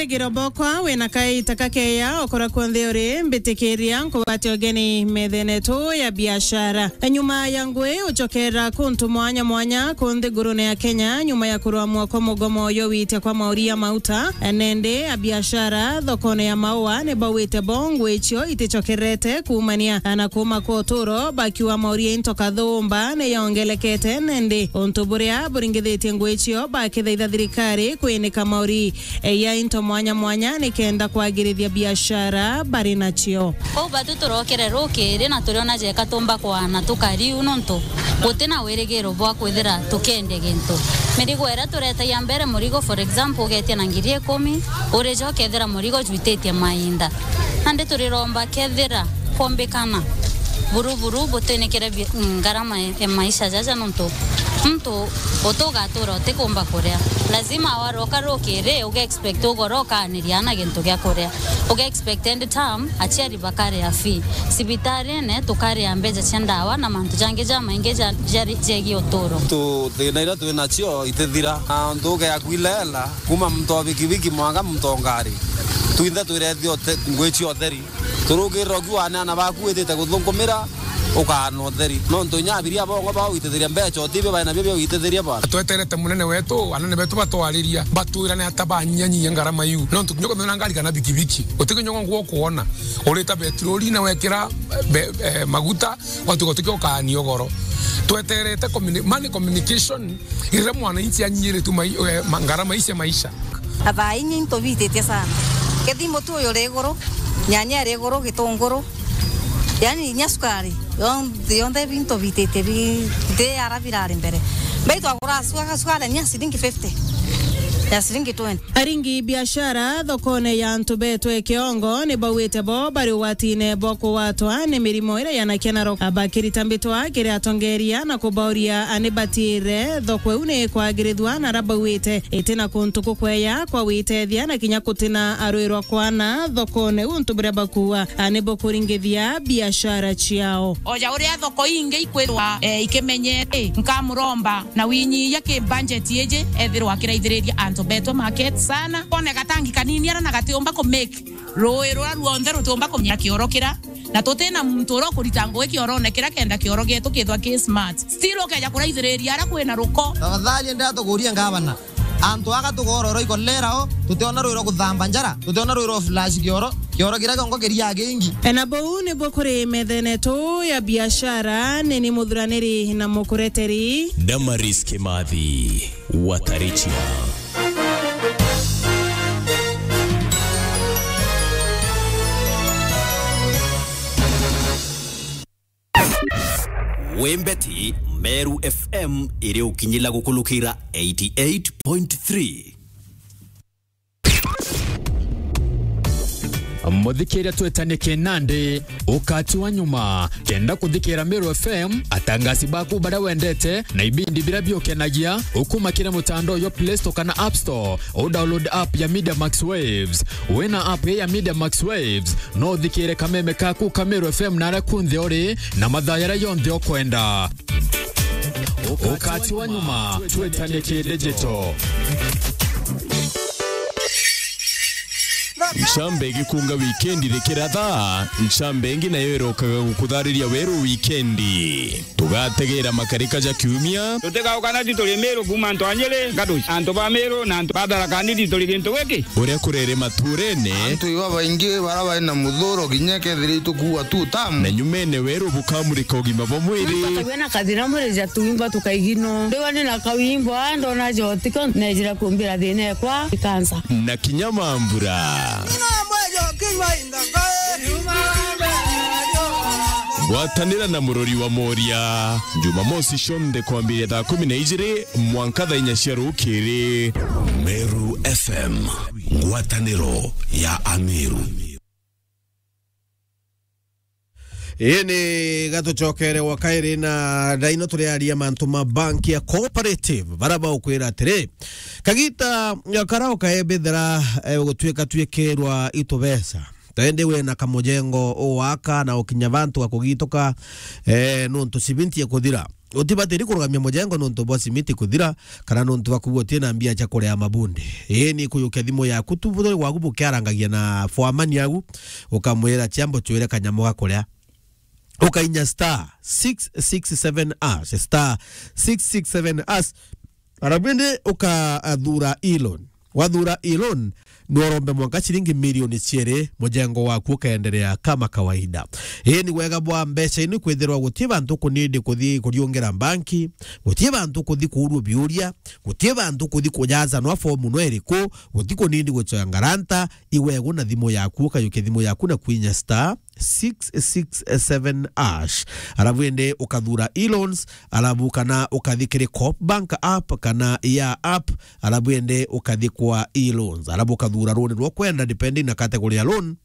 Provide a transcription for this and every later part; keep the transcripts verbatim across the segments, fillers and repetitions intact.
Giro bokwa, wina kaita kakeya, okora kwonthe uri, mbitikiria nkugwate ugeni methene tu ya biashara. Nyuma ya ngui, ucokera kuntu mwanya mwanya kunthi ngurune ya Kenya, nyuma ya kurwamwa kwa mugomo yo wite kwa mauri ya mauta. Nende a biashara thokone ya Maua ni bauite bo ngui cio iticokerete kuumania na kuuma kwa uturo, bakiuga mauri ya into kathumba ni yongelekete, nende untu buria buringithitie ngui cio bakithaitha thirikari kwinika mauri ya into mwanya mwanya nikenda kwagirithia biashara bari nacio. Kwou batu turokere rukiri na turiona jeka tumba kwana tukariu nontu guti na wirigiro bwa kwithira tukendia gintu. Mirigo iria turetagia mbere murigo, for example, ugetia na ngiri ikumi, urija ukethira murigo jwititie mainda. Nandi turiromba kethira kwombikana buru buru butinikire bi-, ngarama e, e maisha jaja nontu muntu utugatura utikumba kuria. Lazima waroka rukiri uge expect ugoro ukaaniria ana gintu gia kuria. Uge expect end term aciari bakaria fee. Cibitarine tukaria mbeca cia ndawa na mantu jangi jamaingi ja, ja, jegie uturo. Tu thina iria twi nacio itithira. Na untu uge akuilela, kuma muntu wa bikibiki mwanka muntu wa ngari. Twinthe twirethio ngwi cia utheri. Turukirira ukiuga aana baku witite kuthunkumira, ukaana utheri. Nontu inya abiria bongwa bawitithiria mbeca, utibi baina bio bia witithiria ba. Tweterete munene wetu, anene betu batwariria, batwirane ata banyanyia ngarama iu. Nontu kinya ukathithira ngari kana bikibiki, utikinya ngwa kuona, urita betroli na wekira be-, eh, maguta, watuka utikio ukaania ugoro. Tweterete communi-, money communication, Riria mwananchi anyiritue mai-, eh, ma-, ngarama ici cia maisha. Na thaa inya into bititie sana. Kethimbo tu uyu uri iguru, nyanya iri iguru, gitunguru. Yaani inya sukari, yonthe, yonthe binto bititie bi-, nti ara birari mbere. Mbei twagura suka-, sukari ni ya ciringi fifty, ya ciringi twenty. Aringi biashara thokone ya antu betwe Kiongo ni bauite bo bari ugwatine bwa kugwatwa ni mirimo iria yanakia na roka. Bakirita mbitwa kiri atongeria na kubauria ani batiire thoko iu ni kwagirithua na ara bauite itina kuntu kukweya kwa gwitethia na kinya kutina arwirwa kwana thokone untu buria bakuua ani bukuringithia biashara ciao. Oja uria thoko ingi ikwithwa, eh, ikimenyete, nkamuromba na winyia ki budget iji ethirwa akiraithiriria antu betwe market sana. Kone gatangi kanini ara na gatiumba ku make rui ruria ruonthe rutiumba kunyia kioro kira, na tutina muntu uria ukurita ngugi kiorone kira kenda kioro gietu kithwa ki smart. Still ukeja kuraithiriria ara kwina ruko. Tafadhali endea tukurie ngavana. Antu aga tugororo ikolera o, tutiona rwiro kuthamba njara, tutiona rwiro flash kioro, kioro kira kiongo kiria kingi. Na buu nibuo kuri methene tu ya biashara, nini muthuraniri na mukureteri. Damaris Kimathi, Watarichia. Wembeti Meru F M iri ukinyila gukulukira eighty eight point three. Muthikiria twetanie kinandi, ukati wa nyuma. Kenda kuthikira Meru F M, atangasi baku baria wendete na ibindi biria biukenagia, ukuma kiri mutandao jwa Play Store kana App Store, u download app ya Media Max Waves. Wina app ya Media Max Waves, no uthikire kameme kaku ka Meru F M na aria kunthe uri na mathaa jaria jonthe ukwenda. Ukati wa nyuma, twetanie ki digital. Ncambe igikunga wikendi rikira thaa, ncambe ingi nayo irokaga gukuthariria weru wikendi. Tugategera makarika ja kiumia. Tutigauka na ti turi Miru kuuma antu a Nyeri, Gaduci, antu ba Miru na antu ba Tharaka Nithi turi gintu giki. Uria kurere maturene. Antu iba baingi bara bari na muthuro kinya kethira itukuua tu tamu. Na nyumene weru bukamurika ugima bwa mwiri. Tugwe na kathina mwiri ja tuimba tukaigino. Ndiwa ni na kawimbo, ndona jotiko, nejira kumbira thina ekwa ikansa. Na kinya mambura. Ngwatanira na murori wa Moria, Jumamosi cionthe kwambiria thaa kumi na ijiri mwanka thaa inya cia rukiri. Meru F M, ngwataniro ya Ameru. Ii ni gatucokere wa kairi na ndaino turiaria mantu ma bank ya cooperative, bara baukwira atiri, kagita karia ukaebithira, eh, gutuika tuikirwa itubeca. Tendi wina kamujengo uwaka na ukinya bantu gakugituka, eh, nuntu cibinti ikuthira. utibatiri kurugamia mujengo nontu bwa simiti kuthira, kana nontu bwa kuuga utina mbia cia kuria mabundi. Ii ni kuyukia thimu yaku tu, buturi bwaku bukiarangagia na foreman yaku, ukamwira, "Ciambo cwire kanyamu ga kuria." Ukainya star six six seven hash, star six six seven hash. Arabu indi ukathura e-loan. Wathura e-loan, ni urombe mwanka ciringi milioni ciiri, mujengo waku ukaendelea kama kawaida. Ii ni wega bwa mbeca ino, kwithirwa guti bantu kunindi kuthi kuriungira banki, guti bantu kuthi kuurua biuria, guti bantu kuthi kujaza nwa fomu no iriku, guti kunindi gucoya ngaranta, iwegu na thimu yaku, ukayukia thimu yaku na kwinya star six six seven hash. Alafu ende ukathura e-loans, alafu kana ukathi kiri Coop Bank app kana ya app, alafu ende ukathi kwa e-loans. Alafu ukathura loan rwo kwenda depending na category ya loan.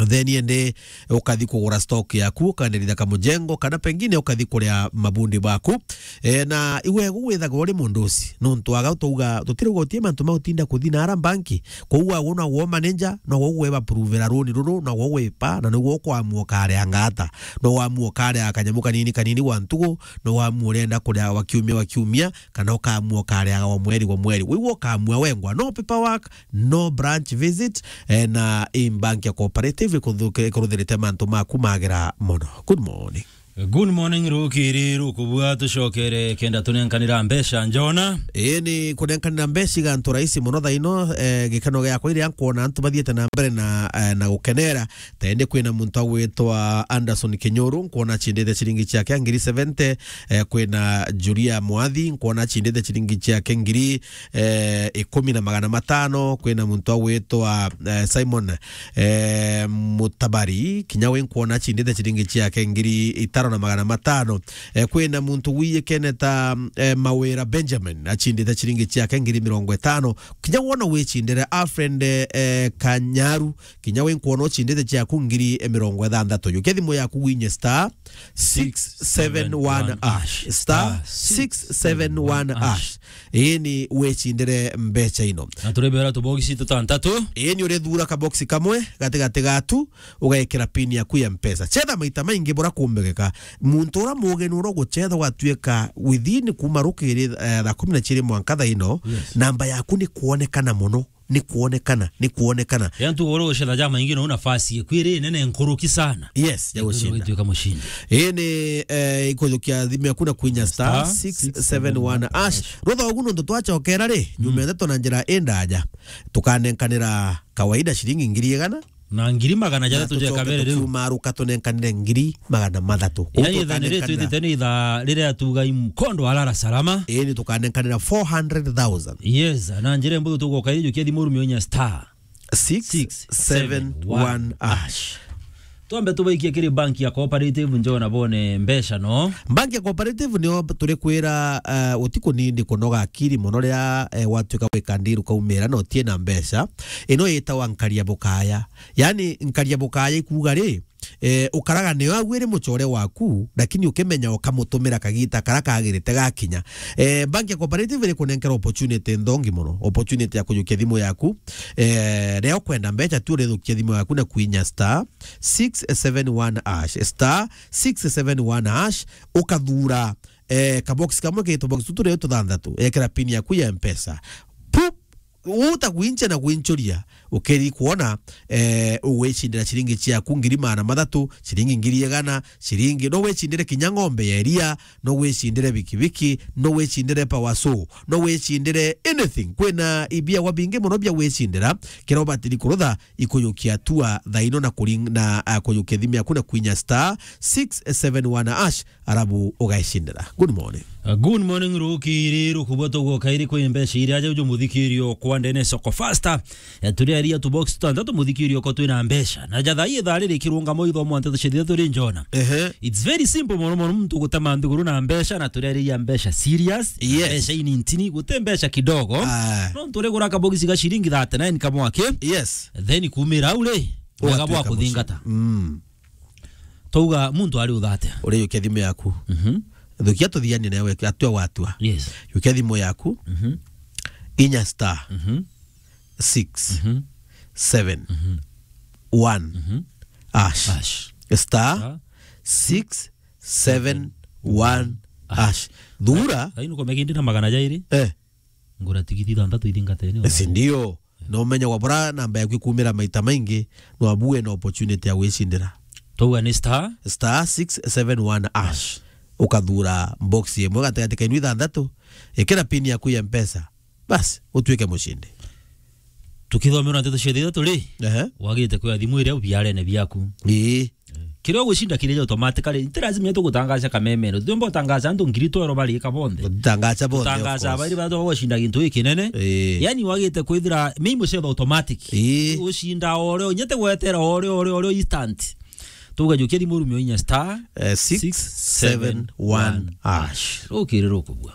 Then ende ukathi kugura stock yaku, ukandirithia kamujengo, kana pengine ukathi kuria mabundi baku. E, na iwegu withagwa uri mundu uci, nontu aga utauga, tutirauga utie mantu ma utinda kuthi na ara banki. Kou wagu no wo manager, no wo ugwe bapuruvira runi ruru, no wo ugwipa, na niguo ukwamua ukaria ngata. No wamua ukaria kanyamu kanini kanini gwa ntugu, no wamua urenda kuria wa kiumia wa kiumia, kana ukamua ukaria wa mweri wa mweri. Wigua ukamua wengwa. No paperwork, no branch visit, eh, na i bank ya cooperative ikuthu-, ikuruthirite mantu maku magira mono. Good morning. Good morning, rukiri rukubua, tucokere kenda tunenkanira mbeca, Njona. Ii ni kunenkanira mbeca iga antu rahisi mono thaino, eh, gikeno giakwa iria nkwona antu bathiete na mbere na, eh, na gukenera. Tende kwina muntu agwitwa Anderson Kinyuru, nkwona acindite ciringi ciake ngiri seventy, eh, kwina Julia Mwathi, nkwona acindite ciringi ciake ngiri, eh, ikumi na magana matano, kwina muntu agwitwa, eh, Simon, eh, Mutabari, kinya we nkwona acindite ciringi ciake ngiri itano na magana matano. Eh, kwina muntu wiyikene ta, eh, Mawira Benjamin, acindite ciringi ciake ngiri mirongo itano. Kinya wona wicindire Alfred, eh, Kanyaru, kinya we nkwona ucindite ciaku ngiri mirongo ithanthatu. Yukia thimu yaku winye star six seven one hash. Star six seven one hash. Ii ni wicindire mbeca ino. Na turibera tubogisi tutantatu. Ii ni urithura kaboksi kamwe gatigati gatu, ugekira pin yaku ya Mpesa. Cetha maita maingi bura kumbegeka. Muntu ura mugeni ura ugucetha gwatuika within kuma rukiri, eh, thaa kumi na ciiri mwanka thaa ino, yes, namba yaku ni kwonekana mono. Ni kwonekana, ni kwonekana. Yaani tu ugoro gucetha jama ingi no nafasi ikwiri nene nkuruki sana. Yes, ya gucinda. Ituika mushindi. Ii ni, eh, ikujukia thimu yaku na kwinya star six seven one hash. Rutha ugu nontu twacokera ri, nyuma ya ndeto na njira indaja. Tukanenkanira kawaida ciringi ngiri igana. Na ngiri magana jathatu ja kabere riu. Tumaruka tunenkanire ngiri magana mathatu. Kou yani ithaa ni tukanenkanira. Ritwitite ni ithaa riria tuga i mkondo wa lala salama. Ii ni tukanenkanira four hundred thousand. Yes, na njira imbuthu tugoka ijukia thimu rumio inya star six seven one hash. Twambe tubaikie kiri banki ya Cooperative, Njona, bone mbeca no. Banki ya Cooperative nio turi kwira, eh, utiku nini kunoga akiri mono ria, eh, watuika gwika ndiru kaumira na utie na mbeca. Ino yitawa nkaria bukaya. Yani, nkaria bukaya ikuuga ri, eh, ukaraga nio agwire mucore waku, lakini ukimenya ukamutumira kagita kara kagirite gakinya. Eh, bank ya cooperative iri kunenkera opportunity nthongi mono, opportunity ya kujukia thimu yaku. Eh, ria ukwenda mbeca tu urithukia thimu yaku na kwinya star six seven one hash, star six seven one hash, ukathura, eh, kabox kamwe kaitu box tu turio tuthanthatu, ekera pin yaku ya Mpesa. Pup! Uta gwinche na gwinchuria, ukeri kwona, eh, ugwicindira ciringi ciaku ngiri magana mathatu, ciringi ngiri igana, ciringi, no wicindire kinya ng'ombe ya iria, no wicindire bikibiki, no wicindire power saw, no wicindire anything. Kwina ibiagwa bingi mono bia gwicindira, kira ubatiri kurutha ikujukia tua thaino na kuring-, na, ah, kujukia thimu yaku na kwinya star six seven one hash. Arabu ugaicindira. Good morning. Uh, good morning, rukiri rukubwa tugoka iri kwi mbeca iria aja uju muthikirio kwa ndene soko faster. Eh, turi aria tu box tutantatu muthikirio ko twina mbeca. Na jatha ithaa riri kirungamo ithomo nteto cia thitha turi Njona. Ehe. It's very simple mono mono muntu gutema nthiguru na mbeca na turi aria mbeca serious. Yes. Mbeca inintini gute mbeca kidogo. Ah. No nturi gura kabogisi ga ciringi thirty-nine kamwake. Yes. Then kumira au ri. Wega bwa kuthingata. Mm. Twauga muntu ari utha atia? Urijukia thimu yaku. Mhm. Thukia tuthianie nawe, atua watua. Yes. Jukia thimu yaku. Mhm. Inya star. Mhm. Six. Mhm. Seven. Mhm. One. Mhm. Hash. Hash. Star. Star. Six seven one Ash. Thura. Ai, nukomea kindi na magana jairi. Eh. Ngura tigiti ithanthatu ithingatene. Si ndio? Na umenye kwa bura namba yaku ikumira maita maingi, no abu wina opportunity ya gwicindira. Twauga ni star? Star six seven one ash. Ukathura box imwe gatigati ka inu ithanthatu, ikira pin yaku ya Mpesa. Basi, utuike mucindi. Tukithomerwa nteto cia thitha turi, ehe, wagite kuya thimu iria biarene biaku. Ii. Kiria ugucinda kiria automatically, nti lazima tugutangaca kamemene. Tuomba utangaca antu ngiri twero bari ika bonthe. Utangaca bonthe, of course. Utangaca bari batwa gucinda gintu gikinene. Ii. Yani wagite kwithira mei mucetho automatic. Ii. Ucinda ore, nyete gwetera ore, ore, ore instant. Tugajukia thimu rumio inya star, eh, six seven one ash. Rukiri rukubua.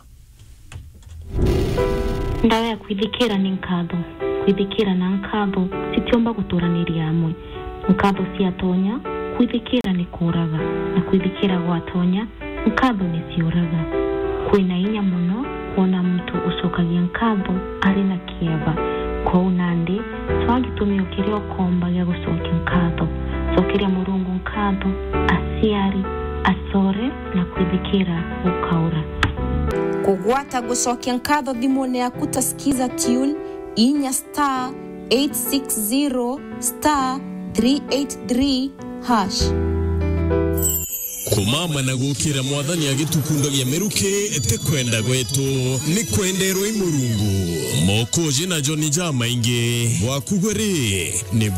Ndawa ya kwithikira ni nkatho. Kwithikira na nkatho citiumba guturaniria amwe. Nkatho ciatonya, kwithikira ni kuuraga, na kwithikira gwatonya, nkatho ni ciuraga. Kwina inya mono kwona muntu ucokagia nkatho ari na kieba. Kwou nandi, cwaa gitumio kiria ukomba gia gucokia nkatho. Cokeria Murungu nkatho, aciari, acore, na kwithikira gukaura. Kugwata gucokia nkatho thimune yaku ta Skiza Tune, inya star eight six zero star three eight three hash. Kumama na gukira Mwathani agitukundagia miruki ti kwenda gwetu, ni kwenderwa i Murungu. Mokoji na Joni jamaingi, bwaku gwe ri, ni